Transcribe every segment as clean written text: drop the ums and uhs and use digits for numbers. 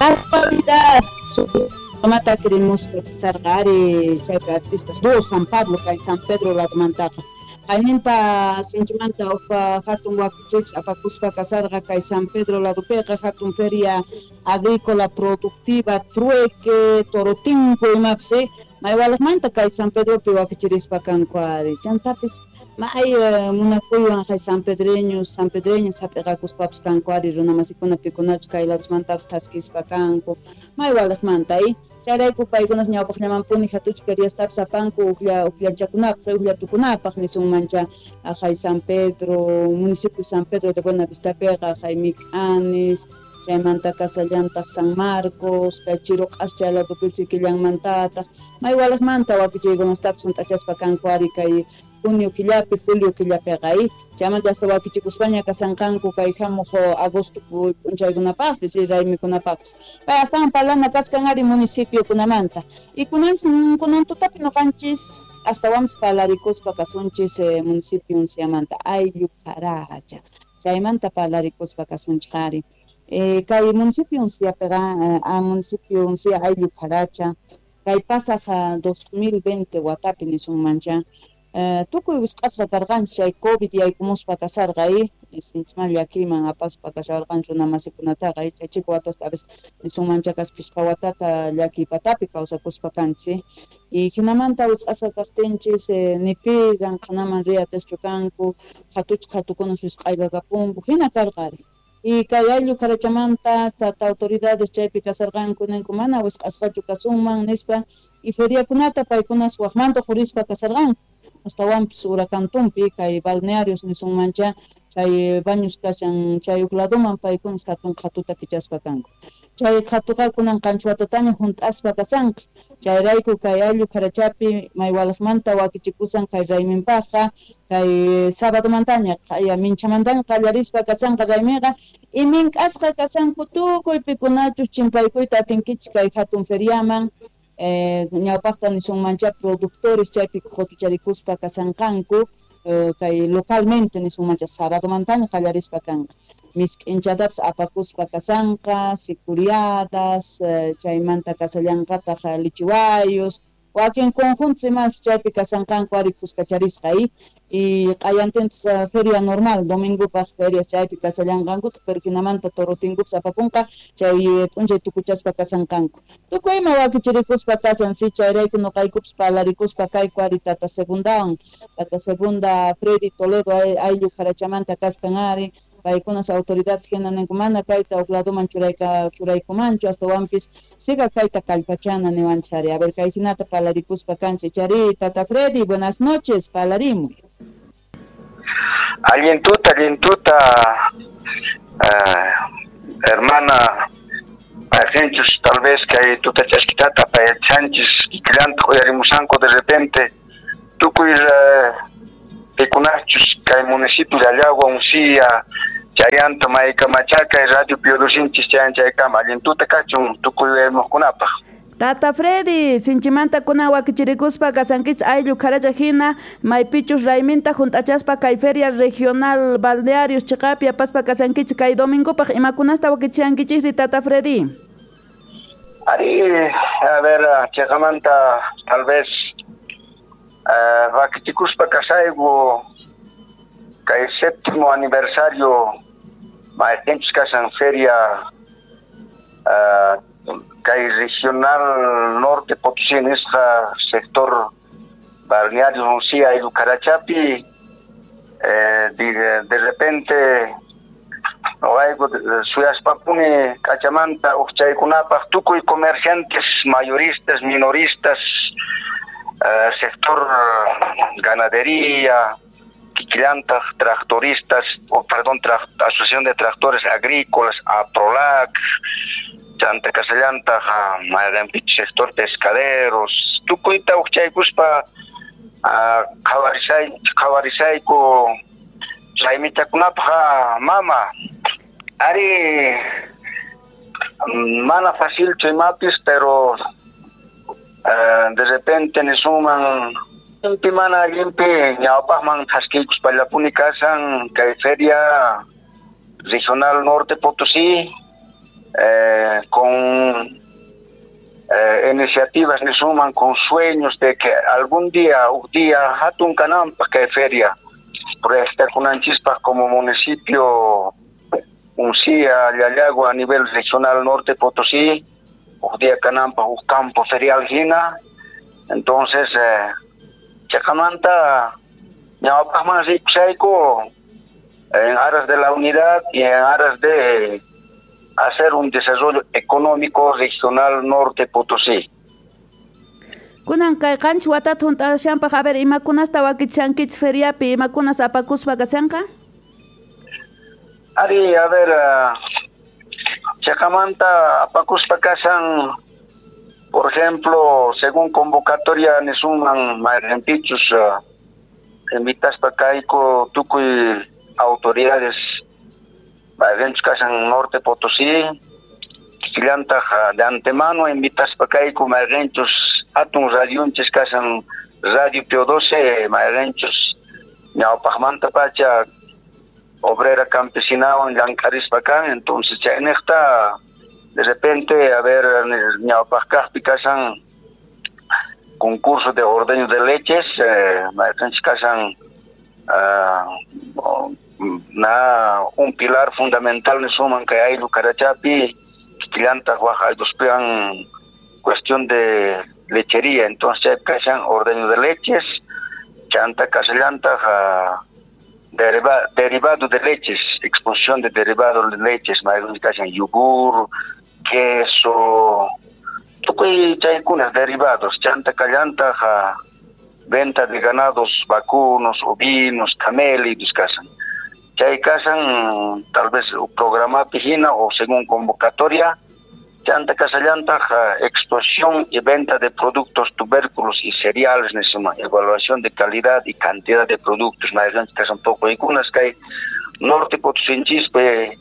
Casualidad, mata queremos sargari chaypi artistas do San Pablo kay San Pedro ladomantaqa qayninpa sinchimanta upa hatun wakichipis apakuspa kasarqa kay San Pedro ladopiqa hatun feria agrícola productiva trueque torotinco imapis maywalaqmanta kay San Pedropi wakichirispa kanku ari chantapis may munakuywan kay San Pedreños San Pedreñas hap'iqakuspapas kanku ari runamasikuna pikunachu kay ladosmantapis thaskispa kanku maywalaqmanta chayrayku paykunas ñawpaqllamanpuni hatuch feriastapis apanku uqllanchakunapaq uqllatukunapaq nisunmancha kay San Pedro municipio San Pedro de Buenavistapiqa kay Mik'anis chaymanta kasallantaq San Marcos kay Chiruq'as chay ladopipis killanmantataq maywalaqmanta wakichiykunastapis hunt'achaspa kanku ari kay junio killapi julio killapiqa chaymanta hasta wakichikuspaña kasanqanku kay hamuq agosto p'unchaykunapaqpis raymikunapaqpis pay astawan parlana kaskan ari municipiokunamanta y kunan tutapi nuqanchis astawanpis parlarikuspa kasunchis municipio Unciamanta ayllu Caracha chaymanta parlarikuspa kasunchik ari kay municipio Unciapiqa municipio Uncia ayllu Caracha kay pasaq 2020 watapi nisunmancha tukuy wisq'asqa karqanchik chay COVID yaykumuspa kasarqa sinchiman llakiyman apaspa kasharqanchik runamasikunataqa chay chika watasta a veces nisunmancha kaspa pishqa watata llakiy patapi kawsakuspa kanchik y hinamanta wisq'asqa kaqtinchis ni pi llamk'anaman riy atiqchu kanku hatuchik hatukunas wisq'aykakapunku hina karqa ari y kay ayllu Carachamanta tata autoridades chaypi kasarqanku ninku mana wisq'asqachu kasunman nispa y feriakunata paykunas waqmanta qurispa kasarqanku astawanpis huracantumpi kay balnearios nisunmancha chay baños kashan chay huk ladoman paykunas hatun qhatuta kichaspa kanku chay qhatuqa kunan qanchis watataña hunt'aspa kasanqa chayrayku kay ayllu Carachapi maywalaqmanta wakichikusan kay rayminpaqqa kay sabadomantaña qaya minchamantaña qallarispa kasanqa rayminqa y mink'asqa kasanku tukuy pikunachus chimpaykuyta atinkichik kay hatun feriaman ñawpaqta nisunmancha productores chaypi qutucharikuspa kasanqanku kay localmente nisunmancha sabadomantaña qallarispa kanqa misk'inchatapis apakuspa kasanqa sicuriadas chaymanta kasallanqataq lichiwayos wakin conjuntos imapis chaypi kasanqanku ari kuskacharisqa y q'ayantintaq feria normal domingopaq ferias chaypi kasallanqankutaq pero hinamanta torotinkupis apakunqa chay p'unchay tukuchaspa kasanqanku tukuy ima wakichirikuspa kasan si chayrayku nuqaykupis parlarikuspa kayku ari tata segundawan tata segunda Freddy Toledo ayllu Carachamanta kaskan ari paykunas autoridades hina ninku mana kayta huk ladoman churaykumanchu astawanpis siga kayta kallpachana niwanchik ari a ver kay hinata parlarikuspa kanchik chari tata Freddy buenas noches parlarimuy. Allintuta hermana Sánchez tal vez kay tuta chaskitata pay Sánchez kikillanta uyarimusanku de repente tukuy pikunachus kay municipio de Allagua Uncia chayanta maykamachaka radio Piolusinchis chayan chaykama allintuta kachun tukuy uyarimuqkunapaq. Tata Freddy, sinchimanta kuna wakichirikuspa kasankichis ayllu Caracha hina maypichus rayminta hunt'achaspa kay feria regional balnearios chiqapi apaspa kasankichis kay domingopaq imakunasta wakichiyankichikri Tata Freddy? Ari, a ver, chiqamanta tal vez wakichikuspa kasayku kay séptimo aniversario mayqinchis kasan feria kay regional norte Potosí nisqa sector balneario Uncia ayllu Carachapi de repente noqayku suyaspapuni k'achamanta uqchaykunapaq tukuy comerciantes mayoristas minoristas sector ganadería kikillantaq tractoristas o perdón asociación de tractores agrícolas APROLAC chanta kasallantaq mayqanpich sector pescaderos tukuyta uqchaykuspa qhawarisayku raymichakunapaq mama ari mana facilchu imapis pero de repente nisunman limpi mana allinpi ñawpaqman thaskiykuspallapuni kasan kay feria regional norte Potosí Con iniciativas nisunman, con sueños de que algún día, un día, hatun kananpaq kay feria, proyectakunanchispaq como municipio Uncía, Llallagua a nivel regional Norte Potosí, un día kananpaq un campo ferial hina. Entonces, chaqamanta ñawpaqman rikushayku en aras de la unidad y en aras de hacer un desarrollo económico regional Norte Potosí. Kunan kay 7 watata hunt'ashanpaq, a ver, imakunasta wakichankichis feriapi, imakunas apakuspa kashanqa? Ari, a ver, chaqamanta apakuspa kashan, por ejemplo, según convocatoria nisunman mayqinpichus invitaspa kayku tukuy autoridades mayqinchus kashan Norte Potosí, kikillantaq de antemano invitaspa kayku mayqinchus hatun radionchis kashan Radio Pio 12, mayqinchus ñawpaqmanta pacha obrera campesinawan llank'arispa kan. Entonces chayniqta de repente, a ver, ñawpaq kaqpi kashan concurso de ordeño de leches, mayqinchus kashan na un pilar fundamental nisunman kay ayllu Carachapi, kikillantaq waq aylluspiwan cuestión de lechería. Entonces chaypi kashan ordeño de leches, chanta kashallantaq derivado de leches, exposición de derivado de leches, mayqinchus kashan yogur, queso, tukuy chaykunas derivados, chanta kallantaq venta de ganados vacunos, ovinos, camélidos kashan. Chay kashan tal vez programapi hina o según convocatoria, chanta kasallantaq exposición y venta de productos, tubérculos y cereales nisuma, evaluación de calidad y cantidad de productos, mayqinchus kashan poqoykunas kay Norte Potosinchispi.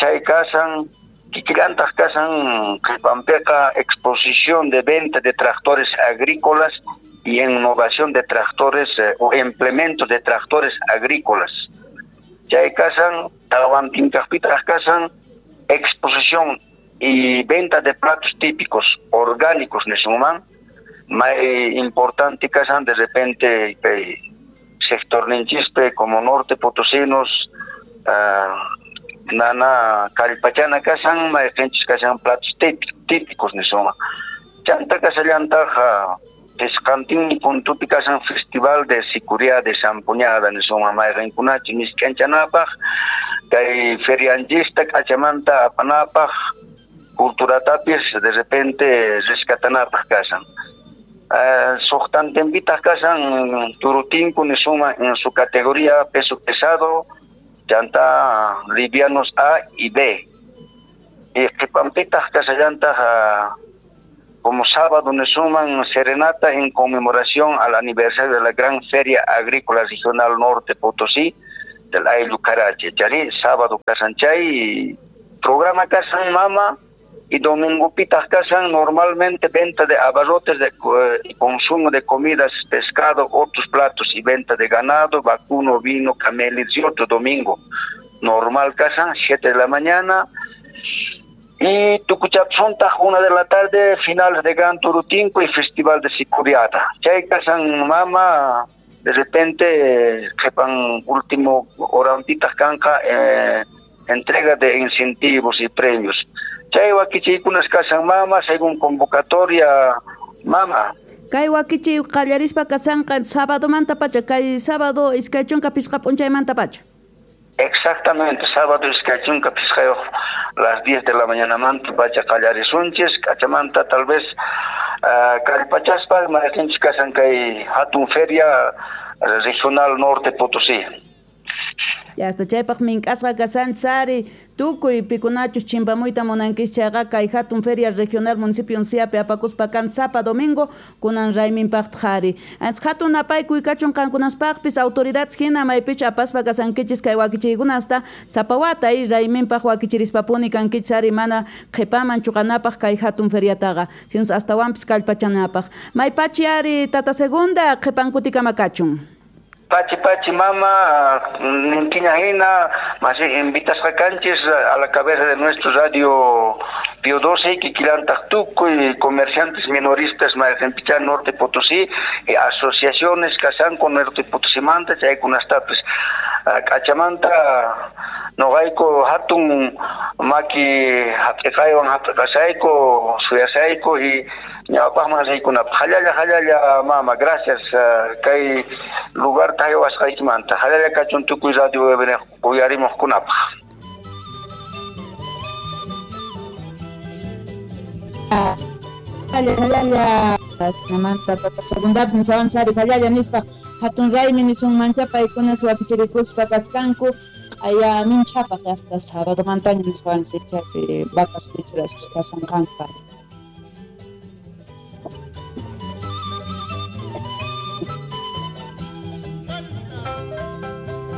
Chay kashan kikillantaq kashan qhipanpiqa exposición de venta de tractores agrícolas y innovación de tractores o implementos de tractores agrícolas. Chay kashan tawantinkaqpitaq kashan exposición y venta de platos típicos orgánicos nisunman, may importante kashan de repente sector ninchispe como Norte Potosinos, nana kallpachana kashan mayqinchis kashan platos típicos nisunman. Chanta kashallantaq pisqantinmi puntupi kashan festival de sicuria de zampuñada nisunman, mayqinkunachi misk'anchanapaq kay ferianchista k'achamanta apanapaq culturatapis de repente rescatanapaq kashan. Suqtantinpitaq kashan turutinku nisunman en su categoría peso pesado, chanta livianos A y B. Y qhipanpitaq kashallantaq como sábado nisunman serenata en conmemoración al aniversario de la gran feria agrícola regional Norte Potosí del ayllu Carache. Chari sábado kashan chay programa kashan mama, y domingo pitaq kashan normalmente venta de abarrotes de, y consumo de comidas, pescado, otros platos y venta de ganado, vacuno, vino, camélidos y otro domingo. Normal kashan, 7 de la mañana. Y tukuchapsuntaq 1 de la tarde, finales de Gran Turutinco y Festival de Sicuriata. Chay kashan mama, de repente, qhipan último horampitaq kanqa entrega de incentivos y premios. Chay wakichiykunas kashan mama, según convocatoria mama. Kay wakichiy qallarispa kashanqa sábado pacha, kay sábado 25 p'unchaymanta pacha. Exactamente, sábado 25 las 10 de la mañana manta pacha qallarisunchis, k'achamanta tal vez kallpachaspa mayqinchis kashan kay hatun feria regional Norte Potosí. Ya hasta chaypaq mink'asqa kashan sari tukuy pikunachus chimpamuyta munankis chayqa kay hatun feria regional municipio Unciapi apakuspa kan sapa domingo kunan rayminpaqta qhari. Antes hatun napaykuy kachun qankunaspaqpis autoridades hina maypichu apaspa kasankichis kay wakichiykunasta sapa wata y rayminpaq wakichirispapuni kankichis ari mana qhipaman chuqanapaq kay hatun feriataqa sinus astawanpis kallpachanapaq. Maypachi ari tata segunda qhipankutikama kachun. Pachi pachi mama, ninkiña hina, más invitasqa kanchis a la cabeza de nuestro radio Pío 12, kikillantaq tukuy comerciantes minoristas mayqinpichá Norte Potosí, asociaciones kashanku Norte Potosimanta, chaykunastapis k'achamanta noqayku hatun maki hap'iqaywan hap'iqasayku suyasayku y ñawpaqman riykunapaq. Hallalla hallalla mama, gracias kay lugar haywasqaykimanta. Hallalla kachun tukuy radio uyarimuqkunapaq. Hallalla namanta tata segundapis nisawanchari hallalla nispa hatun raymi nisunmancha paykunas wakichirikuspa kaskanku q'aya minchapaq hasta sábadomantaña nisawanchik chaypi vacas lecheras kasanqanku.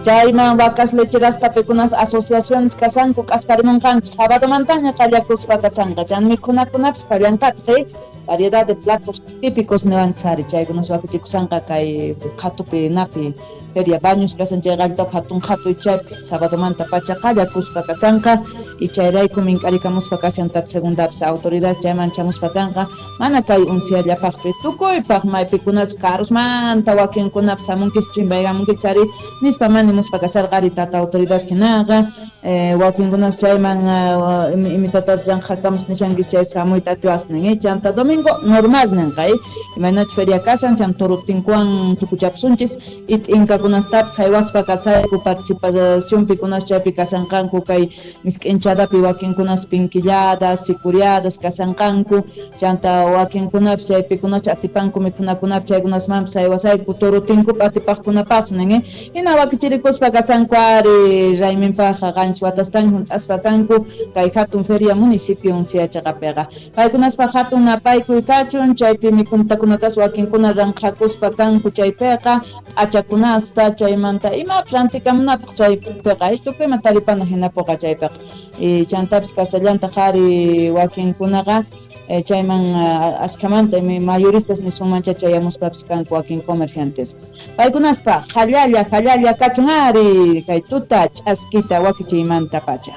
Chayman vacas lecheras tapikunas asociaciones kasanku k'askarimunqanku sábadomantaña qallakuspa kasanqa chan mikhunakunapis kallanqataq variedad de platos típicos niwanchari chaykunas wakichikusanqa kay qhatupi napi feria Baños kasan chay qalltaq hatun qhatu chaypi sábadomanta pacha qallakuspa kasanqa y chayrayku mink'arikamuspa kashan tata segundapis autoridad chayman chamuspa kanqa mana kay unciallapaqchu tukuypaq maypikunachu karusmanta wakinkunapis hamunkis chimpaykamunki chari nispa manimuspa kasarqari tata autoridad hinaqa wakinkunapas chayman imitatapis llanqhakamus nishankis chay chamuyta atiwasnin chanta domingo normal ninqa imaynachu feria kasan chan turutinkuwan tukuchapsunchis y t'inkakunastapis haywaspa kasayku participacionpikunas chaypi kasanqanku kay misk'inchadapi wakinkunas pinquilladas sicuriadas kasanqanku chanta wakinkunapis chaypikunachu atipanku mikhunakunapi chaykunasmanpis haywasayku turutinkupi atipaqkunapaqpis nin hina wakichirikuspa kasanku ari rayminpaqqa qanchis watastaña hunt'aspa kanku kay hatun feria municipio unciachaqapiqa paykunaspaq hatun napaykuy kachun chaypi mikhuntakunatas wakinkuna ranqhakuspa kanku chaypiqa p'achakunasta chaymanta imapis rantikamunapaq chaypiqa tukuyman taripana hinapuqa chaypiqa chantapis kasallantaq ari wakinkunaqa chayman ashkamanta mayoristas nisunmancha chayamuspapis kanku wakin comerciantes paykunaspa hallalla hallalla kachun ari kay tuta ch'askita wakichiymanta pacha.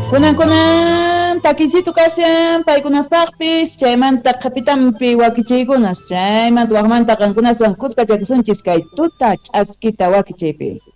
Kunan kunan takisito kashan paykunaspaqpis chaymanta qhapitampi wakichiykunas chaymanta waqmanta qankunaswan kuskachakusunchis kay tuta ch'askita wakichiypi.